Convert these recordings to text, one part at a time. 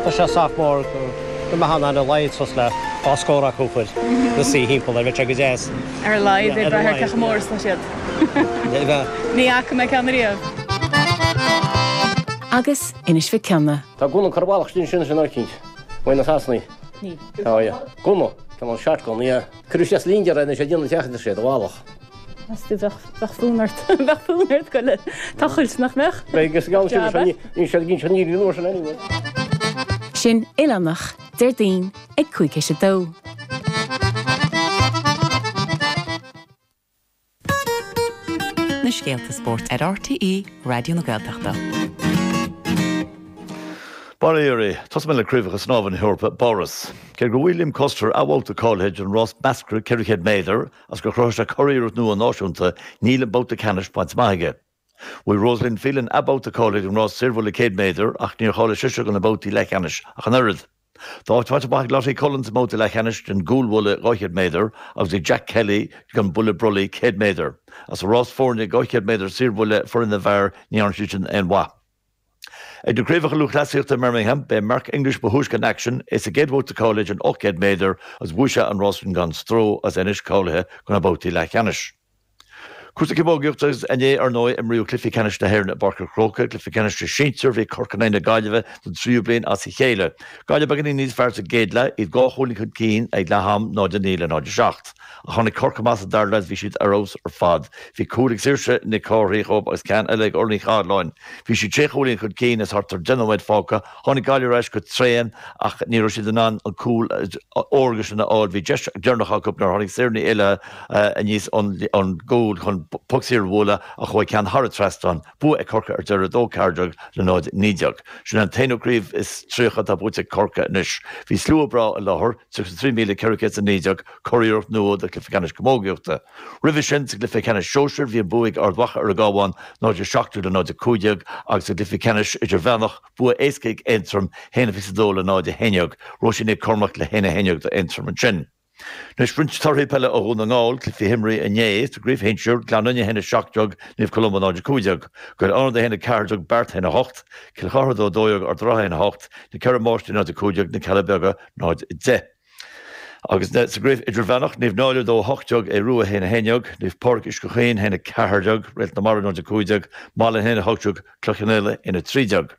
Tá sé sách mór go mbeadh in ann ar a laghad suas le 12 scór acu a chur ina suí thimpeall air, bheadh sé go deas. Ar a laghad, ag brath ar cé chomh mór is atá siad. Ní fhaca mé ceann ariamh. Agus Inis Mhic Cionnaith. Tá gunna curtha i bhfalach ansin sin eicínt. Uaidh na Sasanaigh. Tá, yeah. Gunna. Tá an shotgun, yeah. Cuireadh isteach sa lingear é anois ag déanamh teach idir sé do bhealach. Meas tú bheadh bheadh fonn ort bheadh fonn ort goil ag tochailt nach mbeadh? Beidh agus gan sin Jab, eh? ní siad gin sin ní nuair sin anyway. Sin Oileánach, Déardaoin ag 1:55. Na scéalta spóirt ar RTÉ Raidió na Gaeltachta. Bail ó Dhia oraibh. Tosóidh mé le Craobhacha Snámha na hEorpa i bPáras. Cé gur bhuaigh Liam Koster athbhabhta cáilithe don rás measctha 400 méadar agus gur chruthaigh sé curiarracht nua náisiúnta, níl an babhta ceannais bainte amach aige. Bhuaigh Rosaleen Phelan athbhabhta cáilithe don rás saorbhuille 100 méadar ach níor cháiligh sise do na babhtaí leathcheannais ach an oiread. Tá áit faighte amach ag Lottie Cullen sa mbabhta leathcheannais den gcúlbhuille 200 méadar agus ag Jack Kelly don bhuille brollaigh 100 méadar. Ach sa rás foirne 200 méadar saorbhuille foireann na bhfear ní dhearna siad sin aon mhaith. Ag na Craobhacha Lúthchleasaíochta i mBirmingham, b'é Mark English ba thúisce in aicsean, é sa gcéad bhabhta cáilithe den 800 méadar agus bhuaigh sé an rás sin gan stró agus é anois cáilithe do na babhtaí leathcheannais. Cúrsaí camógaíochta agus inné, ar ndóigh, imríodh cluichí ceannais na hÉireann i bPáirc an Chrócaigh, cluiche ceannais na sinsear, bhí Corcaigh in aghaidh na Gaillimhe don tríú bliain as a chéile. Gaillimh beagáinín níos fearr sa gcéad leath, iad dhá chúilín chun cinn ag leath am, 0-9 le 0-7. Ach tháinig Corcaigh amach sa dara leath agus bhí siad ar fheabhas ar fad. Bhí cúl ag Saoirse Nic Cárthaigh dhóibh agus ceann eile ag Orla Ní Chathalláin. Bhí siad sé chúilín chun cinn is thart ar 10 nóiméad fágtha. Tháinig Gaillimh ar ais go tréan ach ní raibh siad in ann an cúl órga sin a fháil. Bhí deis dheireanach acu nuair a tháinig Sarah Ní Éallaithe aníos ón gcúl chun poc saor a bhualadh ach chuaigh ceann thar an trasnán. Bua ag Corcaigh ar deireadh 2-14 le 0-19. Sin an t-aonú craobh is 30 atá buaite ag Corcaigh anois. Bhí slua breá i láthair, 33,419, curiarracht nua do chluiche ceannais camógaíochta. Roimhe sin, sa gcluiche ceannais sóisir, bhí an bua ag Ard Mhacha ar an gCabhán, 0-17 le 0-15, agus sa gcluiche ceannais idirmheánach, bua éasca ag Aontroim, 1-22 le 0-11, Róisín Nic Cormaic le 1-11 d'Aontroim ansin. Anois roinnt torthaí peile ó Dhún na nGall, cluichí a himríodh inné, sa gcraobh shinsir, Gleann Fhinne 1-17, Naomh Columba 0-15, Gaeil Fhánada 1-14, Beart 1-8, Cill Chartha 2-12, Ard an Rátha 1-8, Na Ceithre Máistrí 0-15, Na Cealla Beaga 0-10. Agus sa gcraobh idirmheánach, Naomh Náille 2 18, Aodh Rua 1 11, Naomh Pádraig Uisce Chaoin 1 14, Réalt na Mara 0 15, Malainn 1 18, Cloich Cheann Fhaola 1 13.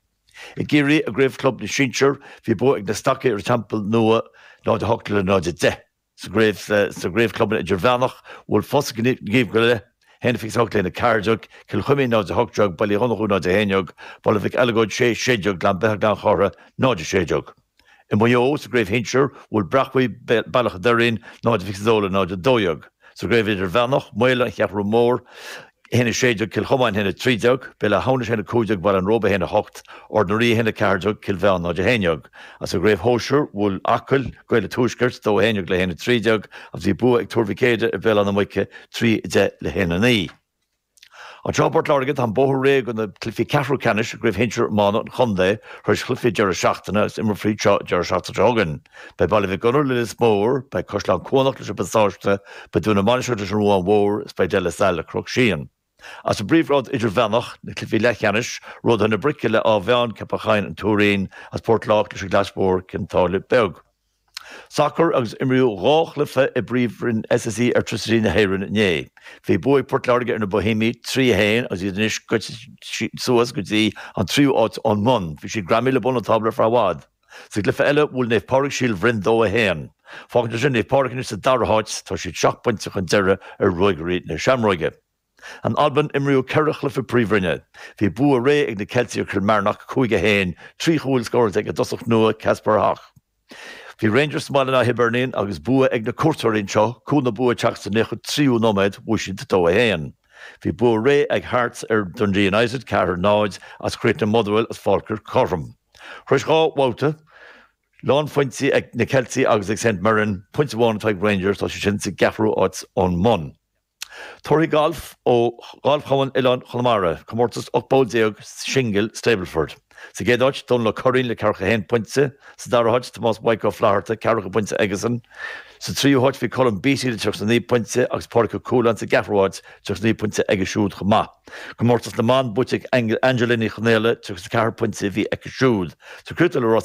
I gCiarraí, i gcraobh chlub na sinsear, bhí bua ag na Stacaigh ar an Teampall Nua 0 8 le 0 10. Sa gcraobh sa gcraobh clubanna idirmheánach, bhuail Fosaigh Naomh Goille 1 28 le 1 14, Cill Chuimín 0 18, Baile Uí Dhonnchú 0 11, Baile Mhic Eileagóid 6 16, Gleann Beithe Gleann Chártha 0 16. I Maigh Eo, sa gcraobh shinsir, bhuail Breac Bhuí Bealach an Doirín 0-22 le 0-12. Sa gcraobh idirmheánach, Maola, An Cheathrú Mór, 1-16, Cill Chomáin 1-13, Béal Átha Hamhnais 1-15, Baile an Róba 1-8, Ard na Rí 1-14, Cill Mheáin 0-11. Agus sa gcraobh shóisir, bhuail Acaill, Gaeil an Tuaiscirt, 2-11 le 1-13 agus bhí bua ag Tuar Mhic Éadaigh ar Bhéal Átha na Muice 3-10 le 1-9. Anseo i bPort Láirge, tá an bóthar réidh do na cluichí ceathrú ceannais i gCraobh Shinsir Iomána an Chontae tar éis chluichí deireadh seachtaine agus imreofar iad seo an deireadh seachtaine seo chugainn. Beidh Baile Mhic Gonair le Lios Mór, beidh Caisleán Cuanach leis an bPasáiste, beidh Dún na Mainistreach leis an Ruán Mhór is beidh De La Salle le Cnoc Síon. Agus sa bpríomhghrád idirmheánach, na cluichí leathcheannais, Ródaithe na Brice le Áth Mheáin, Ceapach Choinn, An Tuairín agus Port Lách leis an gClais Mhór, Cionn tSáile Beag. Sacar agus imríodh dhá chluiche i bPríomhroinn SSE Airtricity na hÉireann inné. Bhí bua ag Port Láirge ar na Boihéamaigh, 3, 1, agus iad anois goite suas go dtí an tríú háit ón mbun. Bhí siad greamaithe le bun an tábla ar feadh i bhfad. Sa gcluiche eile, bhuail Naomh Pádraig Síol Bhroin 2, 1. Fágann sé sin Naomh Pádraig anois sa dara háit, tá siad seacht bpointe chun deiridh ar Ruagairí na Seamróige. In Albain, imríodh ceithre chluiche Príomhroinne. Bhí bua réidh ag na Ceiltigh ar Kilmarnock, 5, 1, 3 chúl scóráilte ag a dtosach nua, Kasper Hogh. Bhí Rangers sa mbaile in aghaidh Hibernian agus bua ag na cuairteoirí anseo, cúl na bua ag teacht sa 93ú nóiméad, bhuaigh siad 2, 1. Bhí bua réidh ag Hearts ar Dundee United, 4, 0, agus chríochnaigh Motherwell agus Falkirk cothrom. Tar éis dhá bhabhta, lánphointí ag na Ceiltigh agus ag St Mirren, pointe amháin atá ag Rangers, tá siad sin sa gceathrú háit ón mbun. Torthaí gailf ó Ghalfchumann Oileáin Chonamara, comórtas 18 bpoll singil Stableford. Sa gcéad áit, Dónal Ó Curraoin le 41 pointe. Sa dara háit, Tomás Mhaidhc Ó Flatharta, ceathracha pointe aigesan. Sa tríú háit bhí Colm Beattie le 39 pointe agus Pádraig Ó Cualáin sa gceathrú háit, 39 pointe aige siúd chomh maith. Comórtas na mban buaite ag Angela Ní Chonaola, 34 pointe a bhí aici siúd. Sa chríochnú le rásaí.